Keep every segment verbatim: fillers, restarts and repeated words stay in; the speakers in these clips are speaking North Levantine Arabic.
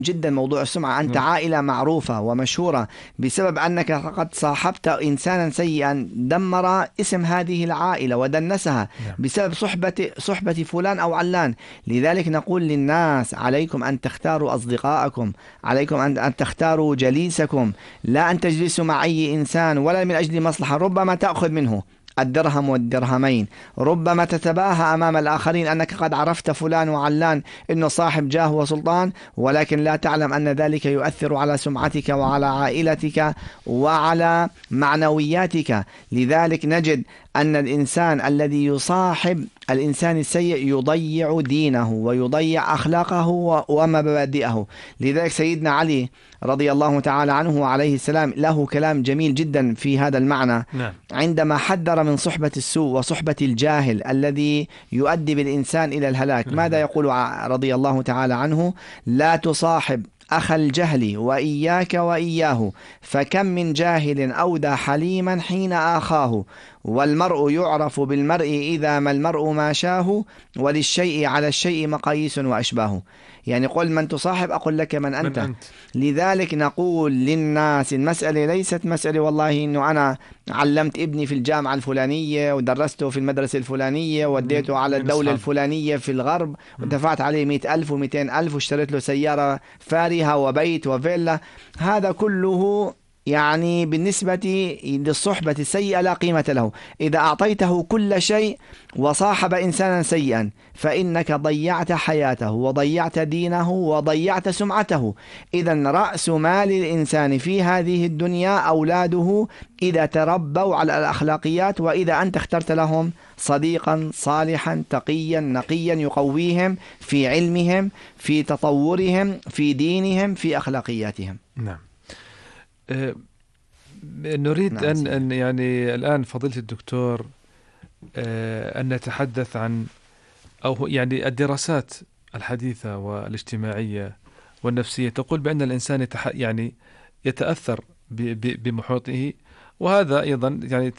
جدا موضوع السمعة. أنت نعم. عائلة معروفة ومشهورة بسبب أنك قد صاحبت إنسانا سيئا دمر اسم هذه العائلة ودنسها نعم. بسبب صحبة صحبة فلان أو علان. لذلك نقول للناس عليكم أن تختاروا أصدقائكم، عليكم أن أن تختاروا جليسكم، لا أن تجلسوا مع أي إنسان ولا من أجل مصلحة. ربما تأخذ منه الدرهم والدرهمين، ربما تتباهى أمام الآخرين أنك قد عرفت فلان وعلان إنه صاحب جاه وسلطان، ولكن لا تعلم أن ذلك يؤثر على سمعتك وعلى عائلتك وعلى معنوياتك. لذلك نجد أن الإنسان الذي يصاحب الإنسان السيء يضيع دينه ويضيع أخلاقه ومبادئه. لذلك سيدنا علي رضي الله تعالى عنه وعليه السلام له كلام جميل جدا في هذا المعنى. نعم. عندما حذر من صحبة السوء وصحبة الجاهل الذي يؤدي بالإنسان إلى الهلاك، ماذا يقول رضي الله تعالى عنه؟ لا تصاحب أخ الجهل وإياك وإياه، فكم من جاهل أودى حليما حين آخاه، والمرء يعرف بالمرء إذا ما المرء ما شاه، وللشيء على الشيء مقاييس وأشباه. يعني قل من تصاحب أقول لك من أنت. من أنت. لذلك نقول للناس المسألة ليست مسألة والله إنه أنا علمت ابني في الجامعة الفلانية ودرسته في المدرسة الفلانية وديته على الدولة الفلانية في الغرب ودفعت عليه مئة ألف ومئتين ألف واشتريت له سيارة فارهة وبيت وفيلا. هذا كله يعني بالنسبة للصحبة السيئة لا قيمة له. إذا أعطيته كل شيء وصاحب إنسانا سيئا فإنك ضيعت حياته وضيعت دينه وضيعت سمعته. إذن رأس مال الإنسان في هذه الدنيا أولاده إذا تربوا على الأخلاقيات، وإذا أنت اخترت لهم صديقا صالحا تقيا نقيا يقويهم في علمهم في تطورهم في دينهم في أخلاقياتهم. نعم. أه نريد نعم أن, أن يعني الآن فضيلة الدكتور أه أن نتحدث عن أو يعني الدراسات الحديثة والاجتماعية والنفسية تقول بأن الإنسان يتح يعني يتأثر بمحيطه، وهذا أيضا يعني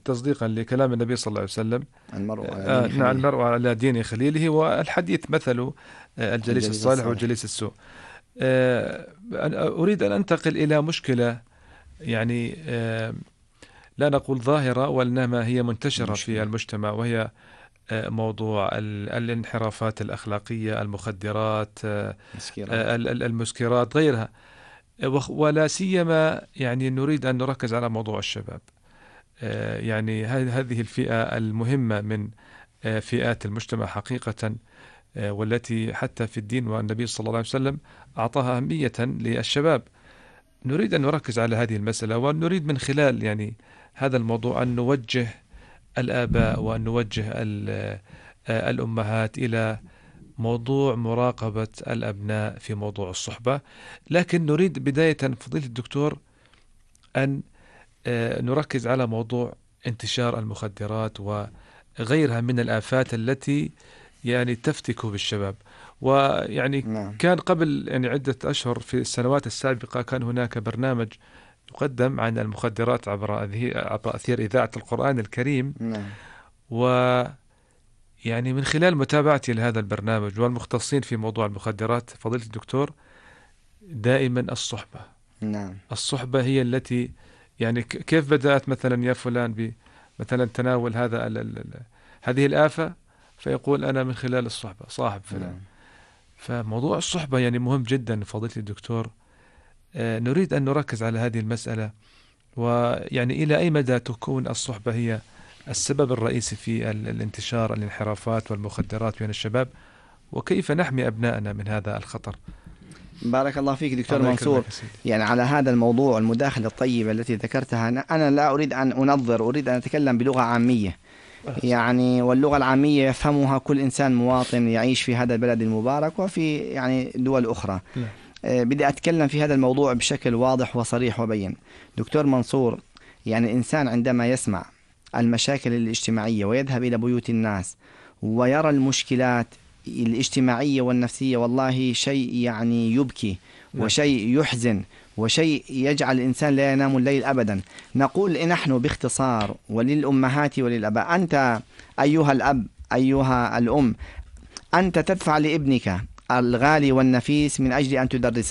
تصديقا لكلام النبي صلى الله عليه وسلم المرء آه نعم المرء على دين خليله، والحديث مثل الجليس الصالح والجليس السوء. آه أريد أن أنتقل إلى مشكلة يعني آه لا نقول ظاهرة وإنما هي منتشرة مشكلة في المجتمع، وهي آه موضوع الانحرافات الأخلاقية، المخدرات، آه المسكرات غيرها، ولا سيما يعني نريد أن نركز على موضوع الشباب. آه يعني هذه الفئة المهمة من آه فئات المجتمع حقيقة، آه والتي حتى في الدين والنبي صلى الله عليه وسلم أعطاها أهمية للشباب. نريد أن نركز على هذه المسألة، ونريد من خلال يعني هذا الموضوع أن نوجه الآباء وأن نوجه الأمهات إلى موضوع مراقبة الأبناء في موضوع الصحبة. لكن نريد بداية فضيلة الدكتور أن نركز على موضوع انتشار المخدرات وغيرها من الآفات التي يعني تفتك بالشباب. ويعني نعم. كان قبل يعني عدة أشهر في السنوات السابقة كان هناك برنامج يقدم عن المخدرات عبر عبر أثير إذاعة القرآن الكريم. نعم. و يعني من خلال متابعتي لهذا البرنامج والمختصين في موضوع المخدرات فضيلة الدكتور، دائما الصحبة. نعم. الصحبة هي التي يعني كيف بدأت مثلا يا فلان بمثلا تناول هذا ال ال هذه الآفة، فيقول أنا من خلال الصحبة صاحب فلان. نعم. فموضوع الصحبة يعني مهم جدا فضيلة الدكتور. آه نريد أن نركز على هذه المسألة، ويعني إلى أي مدى تكون الصحبة هي السبب الرئيسي في الانتشار الانحرافات والمخدرات بين الشباب، وكيف نحمي أبنائنا من هذا الخطر. بارك الله فيك دكتور منصور. يعني على هذا الموضوع المداخلة الطيبة التي ذكرتها، أنا لا أريد أن أنظر، أريد أن أتكلم بلغة عامية، يعني واللغة العامية يفهمها كل إنسان مواطن يعيش في هذا البلد المبارك وفي يعني دول أخرى. لا. أه بدي أتكلم في هذا الموضوع بشكل واضح وصريح وبين. دكتور منصور، يعني الإنسان عندما يسمع المشاكل الاجتماعية ويذهب إلى بيوت الناس ويرى المشكلات الاجتماعية والنفسية، والله شيء يعني يبكي وشيء يحزن وشيء يجعل الإنسان لا ينام الليل أبدا. نقول نحن باختصار وللأمهات وللأباء، أنت أيها الأب أيها الأم، أنت تدفع لابنك الغالي والنفيس من أجل أن تدرسه.